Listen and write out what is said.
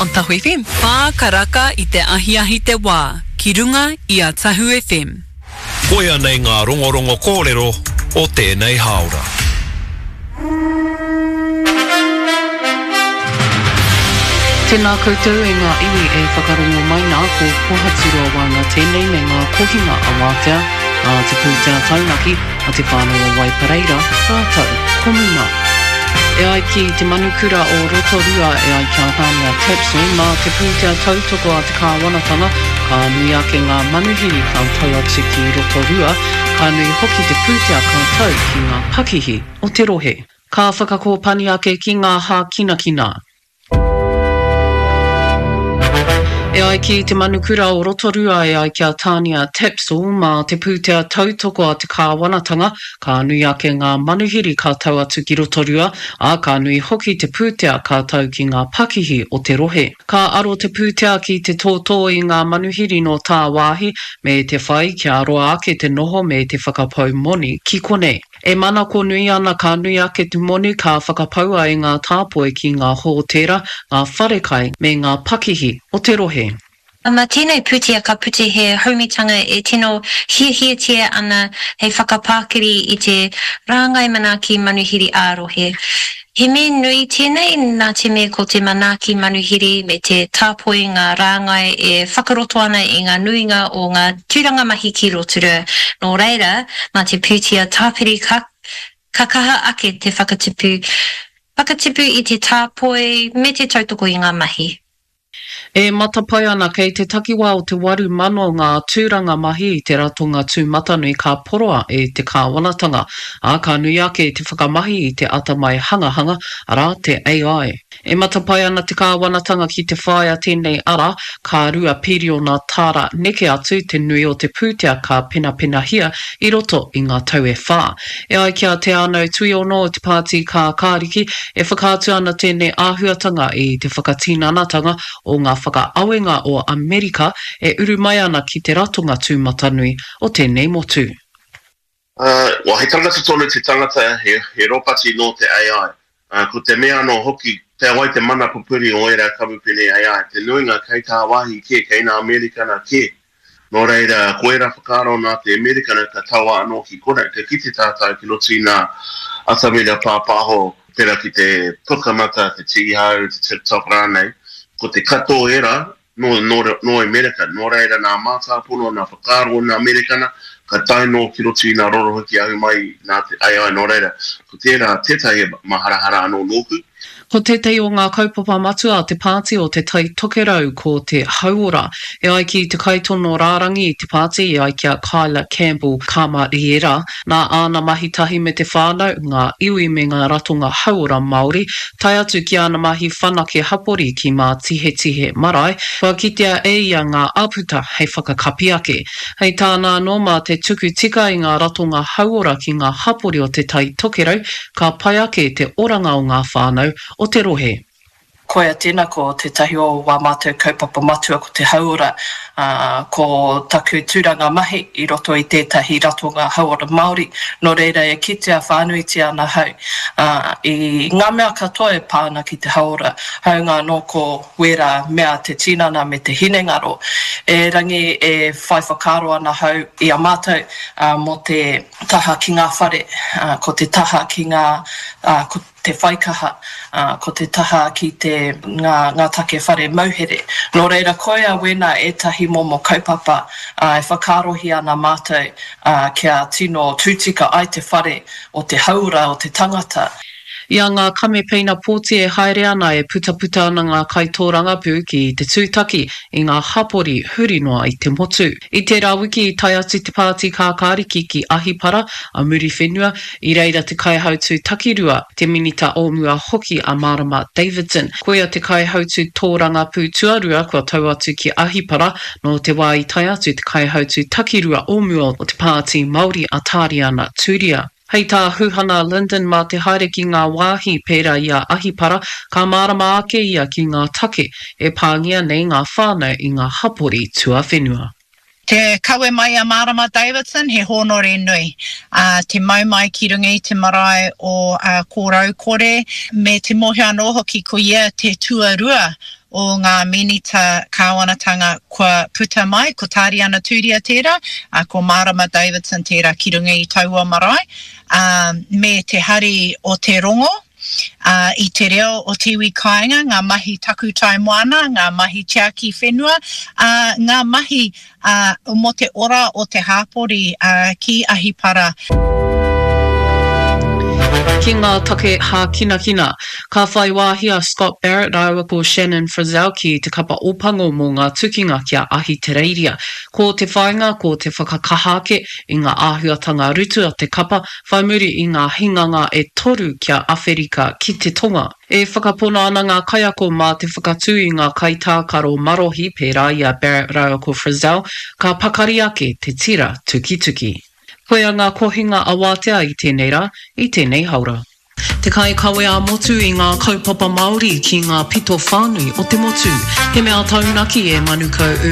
on Tahu FM. Wha karaka i te ahiahi te wā, ki runga i a Tahu FM. Koia nei ngā rongorongo kōrero o tēnei hāora. Tēnā koutou e ngā iwi e whakarongo mai nā, ko Pohaturoa Waenga tēnei me ngā kohinga a Wātea, a Te Pūtea Taunaki, a Te Whānau o Waipareira, rātou ko Muma. E ai ki te manukura o Rotorua e ai ki a Tania Tapsell, mā te pūtea tautoko a te kāwanatanga, ka nui ake ngā manuhiri ka tau atu ki Rotorua, ka nui hoki te pūtea ka tau ki ngā pakihi o te rohe. Ka whakakōpani ake ki ngā hākinakina. E ai ki te manukura o Rotorua e ai ki a Tania Tapsell, mā te pūtea tautoko a te kāwanatanga, ka nui ake ngā manuhiri ka tau atu ki Rotorua, ā, ka nui hoki te pūtea ka tau ki ngā pakihi o te rohe. Ka aro te pūtea ki te tōtō i ngā manuhiri nō tāwāhi, me te whai kia roa ake te noho me te whakapau moni ki konei. E manako nui ana ka nui ake te moni ka whakapaua e ngā tāpoi ki ngā hōtēra, ngā wharekai me ngā pakihi o te rohe. Ma tēnei pūtea ka puta he haumitanga e tino hiahiatia ana hei whakapākiri i te rāngai manaaki manuhiri ā-rohe. He mea nui tēnei nā te mea ko te manaaki manuhiri me te tāpoi ngā rāngai e whakaroto ana i ngā nuinga o ngā tūranga mahi ki Rotorua. Nō reira, mā te pūtea tāpiri ka ka kaha ake te whakatipu whakatipu i te tāpoi me te tautoko i ngā mahi. E matapae ana kei te takiwā o te 8,000 ngā tūranga mahi i te ratonga tūmatanui ka poroa e te kāwanatanga, ā, ka nui ake te whakamahi i te atamai hangahanga, arā, te AI. E matapae ana te kāwanatanga ki te whāia tēnei ara, ka rua piriona tāra neke atu te nui o te pūtea ka penapenahia i roto i ngā tau e whā. E ai ki a Te Ānau Tuiono o te Pāti Kākāriki, e whakaatu ana tēnei āhuatanga i te whakatinanatanga o ngā whakaawenga o Amerika e uru mai ana ki te ratonga tūmatanui o tēnei motu. Well, he tangata tonu te tangata, he, he ropati nō te AI. Ko te mea anō hoki, kei wai te mana pupuri o ērā kamupene AI? Te nuinga kei tāwāhi kē, kei nā Amerikana kē. Nō reira, ko ērā whakaaro nā te Amerikana ka taua anō ki konei. Ka kite tātou ki roto i ngā atamira pāpāho, pērā ki te Pukamata, te Tīhau, te TikTok rānei, ko te katoa o ērā, nō, nō, nō Amerika. Nō reira, nā mātāpono, nā whakaaro o nā Amerikana, ka tae nō ki roto i nā rorohiki ahu mai nā te AI. Nō reira, ko tērā tētahi maharahara anō nōku. Ko tētahi o ngā kaupapa matua a te pāti o Te Tai Tokerau ko te hauora. E ai ki te kaitono rārangi i te pāti, e ai ki a Kyla Campbell Kamariera, nā āna mahi tahi me te whānau, ngā iwi me ngā ratonga hauora Māori, tae atu ki āna mahi whanake hapori ki Mātihetihe Marae, kua kitea e ia ngā āputa hei whakakapi ake. Hei tāna anō, mā te tuku tika i ngā ratonga hauora ki ngā hapori o Te Tai Tokerau, Ka pai ake te oranga o ngā whānau o te rohe. Koia tēnā ko tētahi o wā mātou kaupapa matua ko te hauora, ā, ko taku tūranga mahi i roto i tētahi ratonga hauora Māori, nō reira e kitea whānuitia ana hau, ā, i ngā mea katoa e pā ana ki te hauora, hāunga anō ko wērā mea te tinana me te hinengaro. Erangi e whai whakaaro ana hau i a mātou, ā, mō te. taha ki ngā whare, ko te taha ki ngā, ko te whaikaha, ko te taha ki te, ngā, ngā take whare mauhere. Nō reira, koia wēnā ētahi momo kaupapa e whakaarohia ana mātou kia tino tūtika ai te whare o te hauora o te tangata. I a ngā kamepeina pōti e haere ana e putaputa ana ngā kaitōrangapū ki te tūtaki i ngā hapori huri noa i te motu. I tērā wiki i tae atu te Pāti Kākāriki ki Ahipara, a Muriwhenua, i reira te kaihautū takirua, te Minita o mua hoki a Marama Davidson. Koia te kaihautū tōrangapū tuarua kua tau atu ki Ahipara nō te wā i tae atu te kaihautū takirua o mua o te Pāti Māori a Tāriana Turia. Hei tā Huhana Lyndon mā te haere ki ngā wāhi pērā i a Ahipara, ka mārama ake ia ki ngā take e pāngia nei ngā whānau i ngā hapori tuawhenua. Te kawe mai a Marama Davidson, he hōnore nui. Ā, te mau mai ki runga i te marae o Kōraukore, me te mōhio anō hoki ko ia te tuarua. o ngā Minita Kāwanatanga kua puta mai, ko Tāriana Tūria tērā, ā, ko Mārama Davidson tērā ki runga i taua marae, ā, me te hari o te rongo, ā, i te reo o te iwi kāinga, ngā mahi takutai moana, ngā mahi tiaki whenua, ā, ngā mahi, ā, mō te ora o te hāpori, ā, ki Ahipara. Ki ngā take hākinakina, ka whai wāhi a Scott Barrett rāua ko Shannon Frizell ki te kapa Ōpango mō ngā tukinga ki a Ahitereiria. Ko te whāinga ko te whakakaha ake i ngā āhuatanga rutu a te kapa whai muri i ngā hinganga e toru ki a Awherika ki te Tonga. E whakapono ana ngā kaiako mā te whakatū i ngā kaitākaro marohi pērā i a Barrett rāua ko Frizell, ka pakari ake te tira tukituki. Koia ngā kohinga awātea i tēnei rā, i tēnei haora. Te kaikawe ā-motu i ngā kaupapa Māori ki ngā pito whānui o te motu. He mea taunaki e Manukau.